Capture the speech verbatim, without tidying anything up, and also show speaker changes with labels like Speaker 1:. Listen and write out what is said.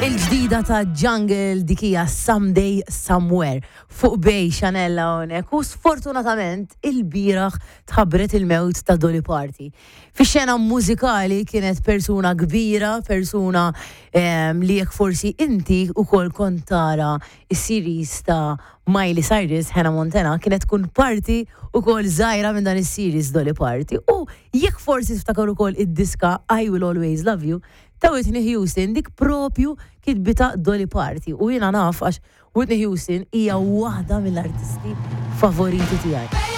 Speaker 1: Il-ġdida ta' Jungle, dik hija Someday Somewhere fuq Bay Chanel hawnhekk, u sfortunatament il-bieraħ tħabbret il-mewt ta' Dolly Parton. Fix-xena mużikali kienet persuna kbira, persuna em, li jekk forsi inti ukoll kont tara is-series ta' Miley Cyrus, Hannah Montana, kienet tkun parti ukoll żgħira minn dan is-series Dolly Parton. U jekk forsi tiftakar ukoll id-diska I Will Always Love You ta' Whitney Houston, dik propju kitbitha Dolly Parton. U jiena naf għax Whitney Houston hija waħda mill-artisti favoriti tiegħi.